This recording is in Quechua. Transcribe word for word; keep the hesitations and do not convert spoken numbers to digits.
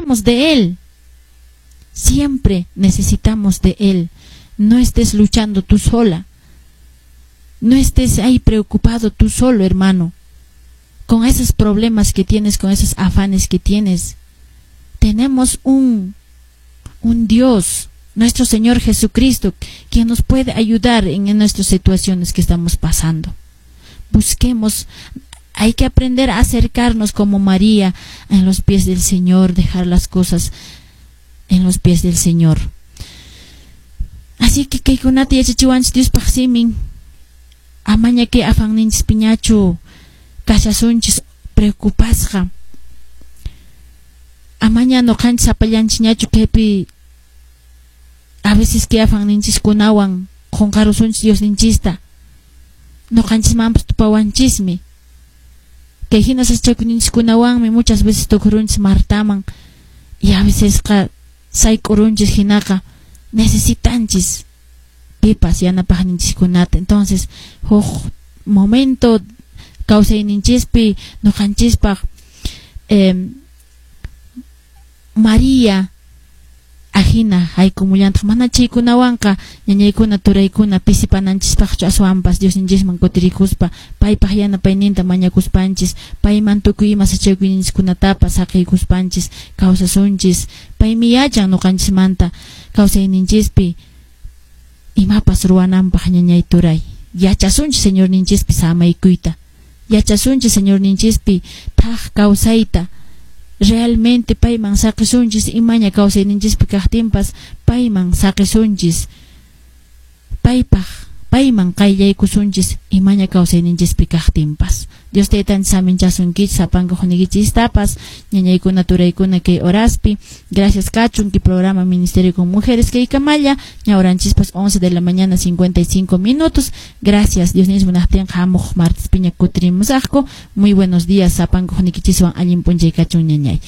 Necesitamos de Él. Siempre necesitamos de Él. No estés luchando tú sola. No estés ahí preocupado tú solo, hermano. Con esos problemas que tienes, con esos afanes que tienes. Tenemos un, un Dios, nuestro Señor Jesucristo, quien nos puede ayudar en, en nuestras situaciones que estamos pasando. Busquemos, hay que aprender a acercarnos como María en los pies del Señor, dejar las cosas en los pies del Señor. Así que kaykunata yachachiwanchis Diospaq simin, amaña kay afanninchispiñachu kashasunchis preocupasqa. Amaña ñuqanchis sapallanchikñachu kaypi a veces kay afanninchiskunawan qunqarusunchis Diosninchista. Ñuqanchismanpas tupawanchismi. Kay hina sasachakuyninchiskunawanmi muchas veces tukurunchis Martaman y a veces sayk'urunchis hinaqa necesitanchis pipas yanapaqninchiskunata. Entonces, huk momento kawsayninchispi ñuqanchispaq eh, María ajina haykumullantaq mana chaykunawanqa ñañaykuna turaykuna pisipananchispaqchu aswanpas Diosninchisman kutirikuspa paypaq yanapayninta mañakuspanchis payman tukuy ima sachakuyninchiskunatapas saqiykuspanchis kawsasunchis. Paymi yachan ñuqanchismanta kawsayninchispi imapas ruwananpaq. Ñañay, turay, yachasunchis Señorninchispi samaykuyta, yachasunchis Señorninchispi thak kawsayta. Realmente payman saqisunchis imaña kawsayninchispi kaqtinpas, payman saqisunchis, paypaq payman qayllaykusunchis imaña kawsayninchispi kaqtinpas. Dios taytanchis saminchasunkichis sapanka hukniykichistapas, ñañaykuna, turaykuna, kay horaspi. Gracias kachun kay programa Ministerio con Mujeres kay kamalla ña horanchispas once de la mañana cincuenta y cinco minutos. Gracias. Dios mismo munaqtin hamuq martes piña kutirimusaqku. Muy buenos días sapanka hukniykichiswan, allin p'unchay kachun, ñañay.